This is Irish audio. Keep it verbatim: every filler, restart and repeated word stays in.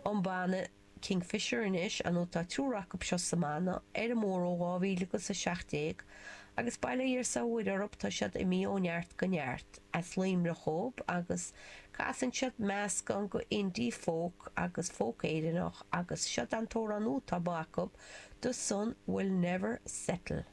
An banna Kingfisher anois, nó tá triúr acu seo sa mbanna, ar an mbóthar ó dhá mhíle agus a seacht déag, agus bail ó Dhia 's ó Mhuire orthu, tá siad imithe ó neart go neart. As Luimneach dhóibh, agus casann siad meascán go indie folk agus folk Éireannach, agus seo an t-amhrán nua atá acu, The Sun Will Never Settle.